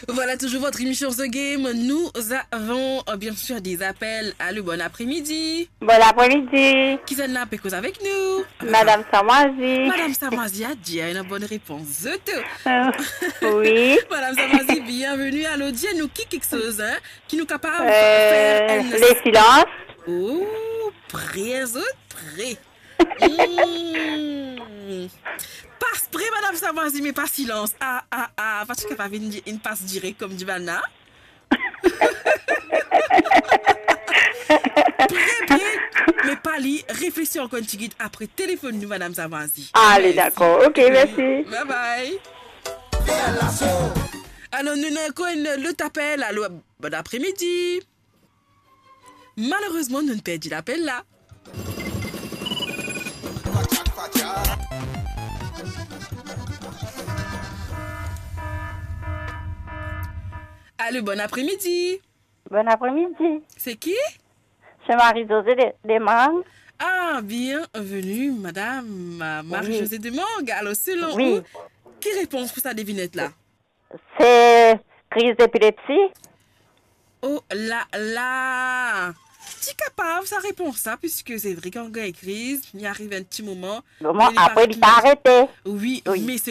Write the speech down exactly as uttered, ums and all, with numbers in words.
Voilà toujours votre émission The Game. Nous avons, euh, bien sûr des appels. Allô, bon après-midi. Bon après-midi. Qui est là, pe koz avec nous? Madame Samoisie. Madame Samoisie a dit, elle a une bonne réponse. Zot. Euh, oui. Madame Samoisie, bienvenue. Alors, dis-nous qui quelque chose, hein, qui nous capable de faire un... Les silences. Oh, prêt, zot, prêt. Hmm. Pas pre, Madame Samoisie, me pa silans. Ah, ah, ah, pa ti kapav vinn di, vinn pas direk koumsa bann la. Pre, pre, me pa li, reflesi ankor enn tigit, apre telefonn nou, Madame Samoisie. Ale, dakor. Ok, mersi. Bye bye. Alors, nou ena ankor enn lot apel. Allô, bon après-midi. Malerezman, nou perdi lapel la. Allô, bon après-midi. Bon après-midi. C'est qui? C'est Marie-Josée de, de Mang. Ah, bienvenue, madame, euh, Marie-Josée de Mang. Alors, selon vous, qui réponse pour sa devinette là? Se kriz depilepsi. Oh la la! Ti kapav sa repons la, piske se vre kan gagn kriz, li ariv enn ti moman, bon, me li apre, li pa arete. Wi, wi, me se